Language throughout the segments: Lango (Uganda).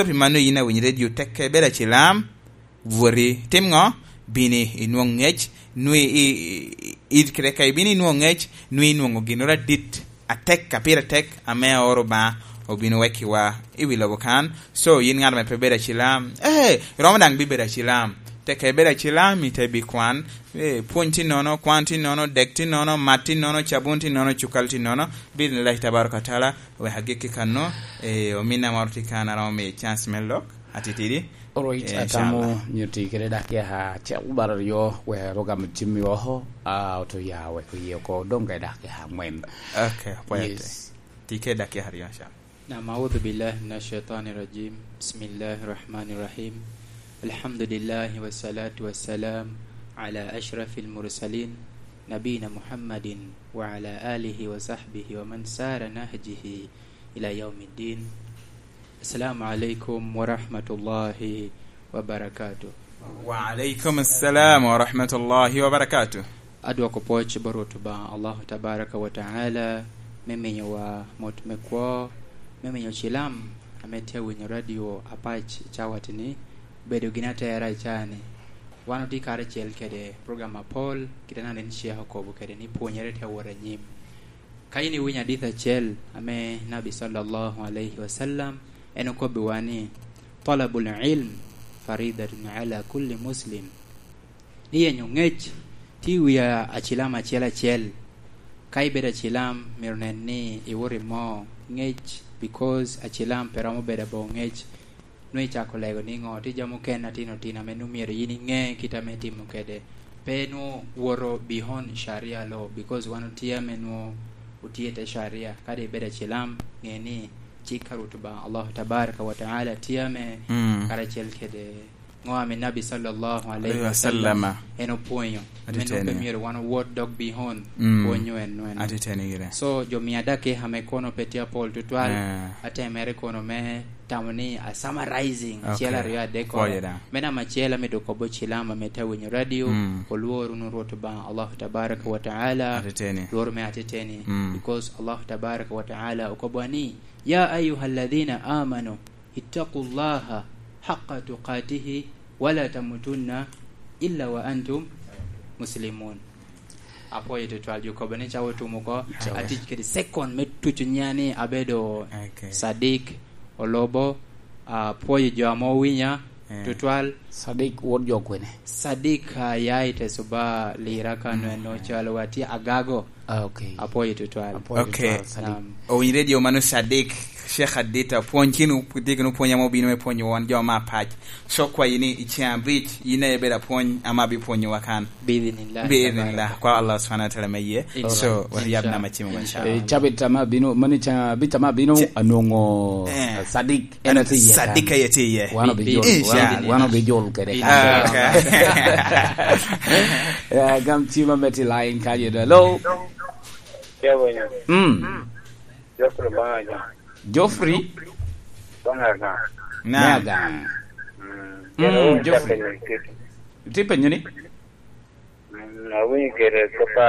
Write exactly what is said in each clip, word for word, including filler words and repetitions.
So, pi mano yin awiny redio, tekke ibedo acilam, bwoti, tim ŋo? Bini inwoŋ ŋec, nwi i, i, i, i, kede ka ibino inwoŋ ŋec, nwi inwoŋo ginnoro adit, atek, a pire tek, ame aoro Obaŋa obino wekkiwa i wi lobo kan. So, yin ŋat ame pe bedo acilam, eh, iromo daŋ bibedo acilam. Tekke ibedo acilam, ite bi kwan, eh, pwony tye nono, kwan tye nono, dek tye nono, mat tye nono, cabun tye nono, cukal tye nono, bidin lac tabaraka taala, wek agikki kano, eh, ominna moro tye kan, aromo miye chance me lok, atitidi. Alright, eh, atamo inshallah. Myero ti kede dakika acel bara aryo, wek rok ame cimmi oko, a, oto ya wek oye oko, dong ka dakika angwen. Okay, apwoyo te. Yes. Ti kede dakika aryo, inshallah. نعم، أعوذ بالله من الشيطان الرجيم. بسم الله الرحمن الرحيم. الحمد لله والصلاة والسلام على أشرف المرسلين نبينا محمد وعلى آله وصحبه ومن سار نهجه إلى يوم الدين. السلام عليكم ورحمة الله وبركاته. Wa alaikum salam wa rahmatullahi wa barakatuh. Adwoko pwoc bot Rwot Obaŋa Allahu tabaraka wa taala me miyowa mot me kwo, me miyo cilam ame tye awinyo radio apac i cawat-ni, bedo gin atera i caa-ni. Wan otye karacel kede program apol, kite na nen Sheikh okobo kede ni pwonyere tye awot anyim. Ka yin iwinyo adit acel ame Nabi sallallahu alaihi wasallam en okobbiwa ni, "Talabul ilm faridatun ala kulli muslim." Ni yenyo ŋec tye i wi a-, acilam acel acel. Ka ibedo acilam, myero nen ni iwot imo ŋec, because acilam pe romo bedo aboŋo ŋec. Nwoŋo icako lego niŋo? Tye jami mukene atino tino ame nwoŋo myero yin iŋe kit ame itimo kede. Pe nwoŋo woto beyond sharia law, because wan otye ame nwoŋo otye i te sharia. Kadi ibedo acilam, ŋe ni cik a Rwot Obaŋa Allahu tabaraka wa taala tye ame Mm. karacel kede ŋo ame Nabi sallallahu alaihi Alaihi wasallam wasallama. En opwonyo. Ame nwoŋo pe myero wan owot dok beyond Mm. pwonyo en nwoŋo. Atiteni gire. So, jo mia dakika ame kono pe tye apol tutwal, Eh. atemere kono me tamo ni a summarizing, Okay. acel aryo adek kono. Pwoyo da. Me namba acel ame dok kobo cilam ame te winyo radio, Mm. olwor wunu Rwot Obaŋa Allahu tabaraka wa taala, Atiteni. Lwor me atiteni. Mm. Because Allahu tabaraka wa taala okobo ni, "Ya ayyuha alladhina amanu, ittaqullaha haqqa tuqatihi, wala tamutunna illa wa antum muslimun." Apwoyo tutwal, jo kobo ni cawa otum oko, Cawa. Atic kede second me tuco nya ni abedo Okay. Sadik Olobo, apwoyo jo ame owinya Eh. tutwal. Sadik wot jo kwene? Sadik, ah, ya i Tesuba, Lira, Kano, Mm. eno calo watye Agago. Ah, okay. Apwoyo tutwal. Apwoyo Okay. tutwal, Sadik. Naam. Owiny radio mano Sadik, Sheikh Adita, pwony kino, tye kino pwony ame obino me pwonyo wan jo ma apac. So kwayi ni i ceng abic, yin aye bedo apwony ame abipwonyowa kan. Biidhnillah, Biidhnillah, tabaraka. Kwa Allah subhanahu wa ta'ala me ye. Inshallah. So, waryab Inshallah. Nama cimo, Inshallah. Eh, inshallah. Cabit ama bino, mani ca-, bit ama bino, Ca-, anongo, eh, Sadik, en atye iye Sadik kan. Aye tye iye. Wan obi Bi-, jol, inshallah. Wan, wan obi jol kede Ah, kan. Okay. Ya, gam cima me ti line kanyo da. Hello? Ke winyo. Mm. Geoffrey Obaŋa Ajaŋ. Geoffrey? Obaŋa Ajaŋ. Naam. Me Agaŋ. Mm. Mm, Geoffrey. Geoffrey. Iti penyo ni? Mm, awinyo kede kop a,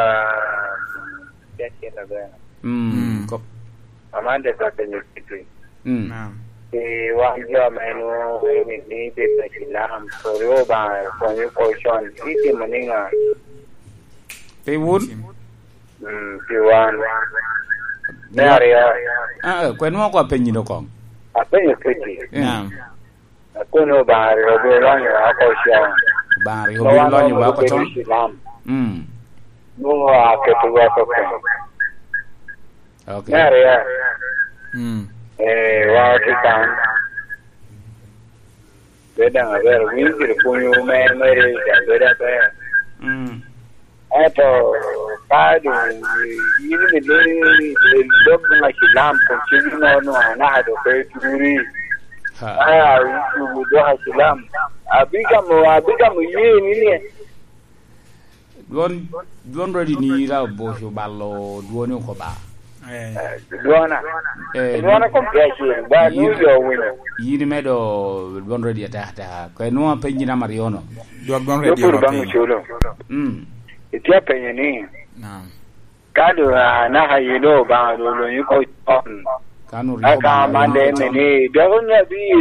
mm, acel aber. Mm, Mm. kop. Amande ka penyo kiti. Mm. Naam. Pi wan jo ame nwoŋo ni, ni bedo Cilam, pwod Obaŋa konyo oko con, itimo niŋa? Pi wun? Mm, pi wan. Me aryo. Ah, kwen mo ko apenyi do kong. Apenyo kiti. Eh. Naam. Akono Obaŋa rik obino lonyo wa oko con. Obaŋa rik obino lonyo wa oko con. Cilam. Mm. Nwoŋo aketowa oko con. Okay. Me aryo. Mm. Eh, wa otye kan. Bedo daŋ aber, winyo gire pwonyo me, me rec, bedo aber. Mm. Ento ka doŋ yin ni, ni, ni dok doŋ acilam, kun cen ino nwa anaka doŋ pe turi. Ha. Aya, icubo dok acilam. Abigamo, abigamo ye ni ni. Dwon, dwon ready ni ira oboco balo dwoni oko ba. Eh. Dwona. Eh, dwona kom tye acel. Ba yin, nwoŋo jo owinyo. Yin imedo dwon ready atek ateka. Kwe nwoŋo apenyi namba aryo no. Dwok dwon ready. Dwok pur baŋ ocolo. Mm. Itye apenyo ni, Naam. Ka doŋ anaka yin Obaŋa doŋ olonyi oko con. Ka nu rik Aka Obaŋa man olonyi de oko con. Ni, dok onyo abi